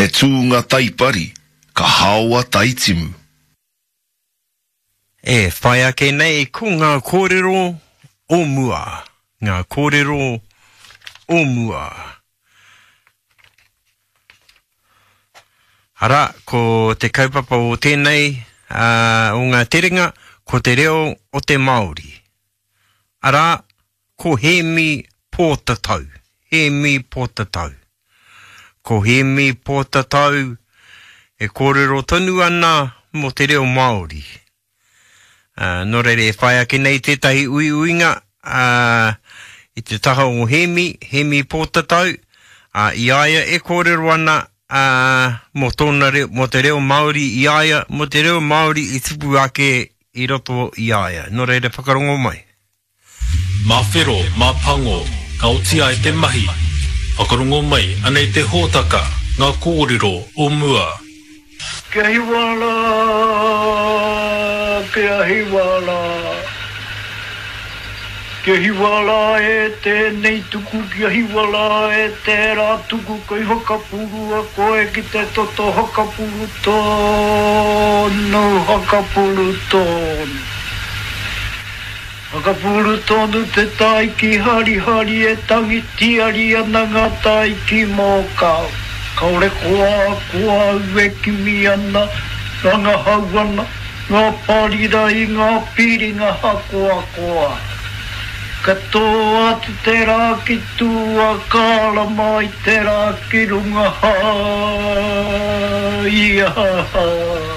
He tūnga taipari, ka haoa taitimu. E whai ake nei ko ngā kōrero o mua, ngā kōrero o mua. Arā, ko te kaupapa o tēnei, ā, o ngā terenga, ko te reo o te Māori. Arā, ko Hēmi Pōtatau, Hēmi Pōtatau. Ko Hēmi Pōtatau e kōrero tonu ana mō te reo Māori. Ā, nō reira e whai ake nei tētahi uiuinga, ā, i te taha o Hēmi, Hēmi Pōtatau, ā, i a ia e kōrero ana, ā, mō tōna reo, mō te reo Māori i a ia, mō te reo Māori i tupu ake i roto i a ia. Nō reira whakarongo mai. Mā whero, mā pango, ka oti ai te mahi. Whakarongo mai, anei te hōtaka, ngā kōrero o mua. Kia hiwa rā, kia hiwa rā. Kia hiwa rā e tēnei tuku, kia hiwa rā e tērā tuku, kei whakapurua koe ki te toto hakapuru tonu, hakapuru tonu. Whakapūru tonu te tai ki Harihari e tangi tīari ana ngā tai ki Mōkau. Kaore koa ko au e kimi ana, rangahau ana, ngā parira i ngā piringa hakoakoa. Ka tō atu te rā ki tua, ka ara mai te rā ki runga, ha, ia, ha.